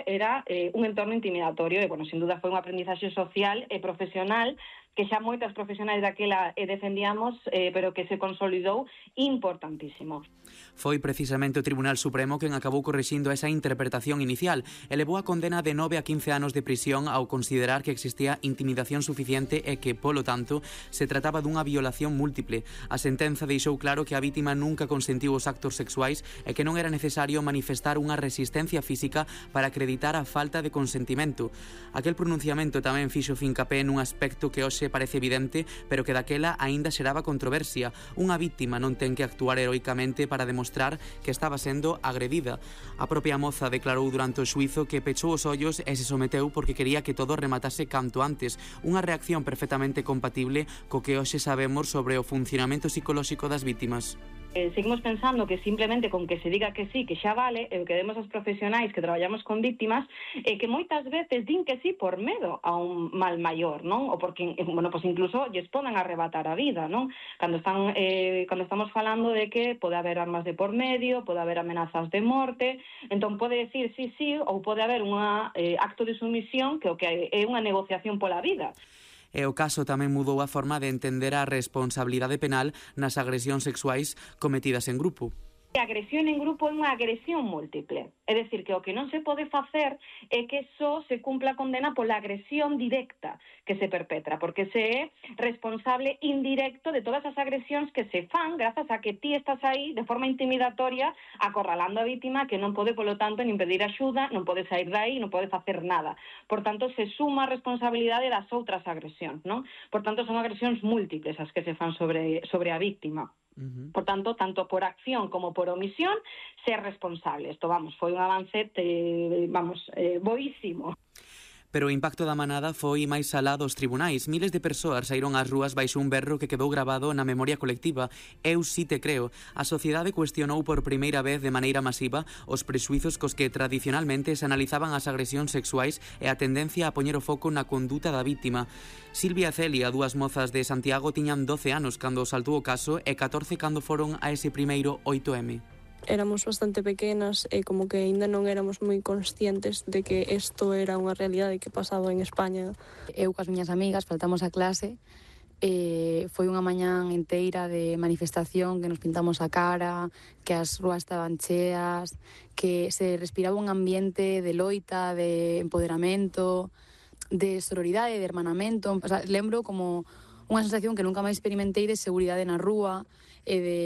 era un entorno intimidatorio e, sin duda, foi unha aprendizaxe social e profesional que xa moitas profesionais daquela defendíamos, pero que se consolidou importantísimo. Foi precisamente o Tribunal Supremo quen acabou corrixindo esa interpretación inicial e levou a condena de 9 a 15 anos de prisión ao considerar que existía intimidación suficiente e que, polo tanto, se trataba dunha violación múltiple. A sentenza deixou claro que a vítima nunca consentiu os actos sexuais e que non era necesario manifestar unha resistencia física para acreditar a falta de consentimento. Aquel pronunciamento tamén fixo fincapé nun aspecto que hoxe parece evidente, pero que daquela aínda xeraba controversia. Unha vítima non ten que actuar heroicamente para demostrar que estaba sendo agredida. A propia moza declarou durante o xuízo que pechou os ollos e se someteu porque quería que todo rematase canto antes, unha reacción perfectamente compatible co que hoxe sabemos sobre o funcionamento psicolóxico das vítimas. Seguimos pensando que simplemente con que se diga que sí, que xa vale, e o que demos aos profesionais que traballamos con vítimas, que moitas veces din que sí por medo a un mal maior, non? Ou porque, incluso lles poden arrebatar a vida, non? Cando estamos falando de que pode haber armas de por medio, pode haber amenazas de morte, entón pode decir sí, ou pode haber un acto de sumisión que o que é unha negociación pola vida. E o caso tamén mudou a forma de entender a responsabilidade penal nas agresións sexuais cometidas en grupo. A agresión en grupo é unha agresión múltiple. É dicir, que o que non se pode facer é que só se cumpla a condena pola agresión directa que se perpetra, porque se é responsable indirecto de todas as agresións que se fan grazas a que ti estás aí de forma intimidatoria acorralando a vítima que non pode, polo tanto, nin pedir axuda, non pode sair dai, non pode facer nada. Por tanto, se suma a responsabilidade das outras agresións, non? Por tanto, son agresións múltiples as que se fan sobre a vítima. Por tanto, tanto por acción como por omisión, ser responsable. Isto, foi un avance, boísimo. Pero o impacto da manada foi máis alá dos tribunais. Miles de persoas saíron ás rúas baixo un berro que quedou gravado na memoria colectiva. Eu sí te creo. A sociedade cuestionou por primeira vez de maneira masiva os prexuizos cos que tradicionalmente se analizaban as agresións sexuais e a tendencia a poñer o foco na conduta da vítima. Silvia e Celia, dúas mozas de Santiago, tiñan 12 anos cando saltou o caso e 14 cando foron a ese primeiro 8M. Éramos bastante pequenas e como que aínda non éramos moi conscientes de que isto era unha realidade que pasaba en España. Eu coas miñas amigas faltamos a clase e foi unha mañán inteira de manifestación, que nos pintamos a cara, que as rúas estaban cheas, que se respiraba un ambiente de loita, de empoderamento, de sororidade, de hermanamento. O sea, lembro como unha sensación que nunca máis experimentei de seguridade na rúa e de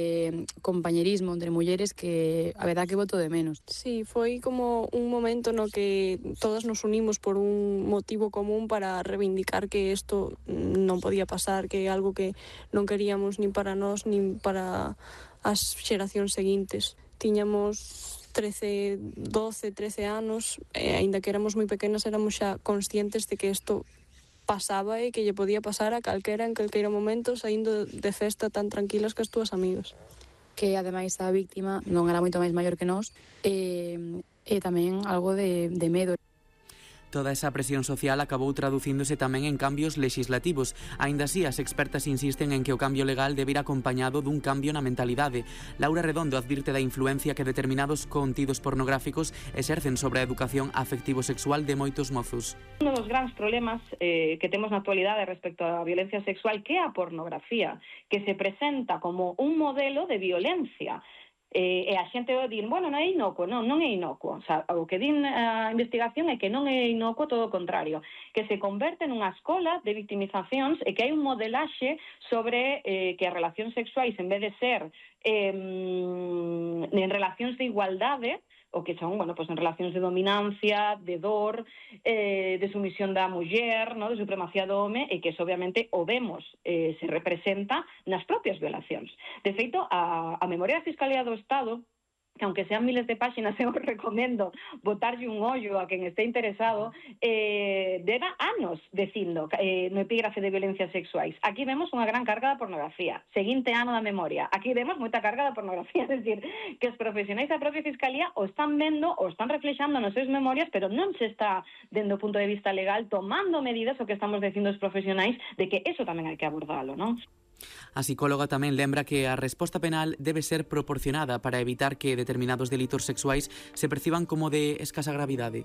compañerismo entre mulleres que a verdad que boto de menos. Sí, foi como un momento no que todas nos unimos por un motivo común para reivindicar que isto non podía pasar, que é algo que non queríamos nin para nós nin para as xeracións seguintes. Tiñamos 13 anos e aínda que éramos moi pequenas éramos xa conscientes de que isto pasaba e que lle podía pasar a calquera en calqueiro momento saindo de festa tan tranquilas que as túas amigas. Que ademais a víctima non era moito máis maior que nós e tamén algo de medo. Toda esa presión social acabou traducíndose tamén en cambios legislativos. Aínda así, as expertas insisten en que o cambio legal debe ir acompañado dun cambio na mentalidade. Laura Redondo advirte da influencia que determinados contidos pornográficos exercen sobre a educación afectivo-sexual de moitos mozos. Un dos grandes problemas que temos na actualidade respecto á violencia sexual que é a pornografía, que se presenta como un modelo de violencia. E a xente vai dir, non é inocuo, non é inocuo. O sea, o que din a investigación é que non é inocuo, todo o contrario, que se converte nunha escola de victimizacións e que hai un modelaxe sobre que as relacións sexuais, en vez de ser en relacións de igualdade, o que son, en relacións de dominancia, de dor, de sumisión da muller, de supremacía do home, e que eso, obviamente, o vemos, se representa nas propias violacións. De feito, a memoria da Fiscalía do Estado, que aunque sean miles de páxinas, eu recomendo botarlle un ollo a quen este interesado, dera anos dicindo no epígrafe de violencias sexuais. Aquí vemos unha gran carga da pornografía. Seguinte ano da memoria. Aquí vemos moita carga da pornografía. É dicir, que os profesionais da propia Fiscalía o están vendo, o están reflexando nas seus memorias, pero non se está, dende o punto de vista legal, tomando medidas o que estamos dicindo os profesionais de que eso tamén hai que abordalo, non? A psicóloga tamén lembra que a resposta penal debe ser proporcionada para evitar que determinados delitos sexuais se perciban como de escasa gravidade.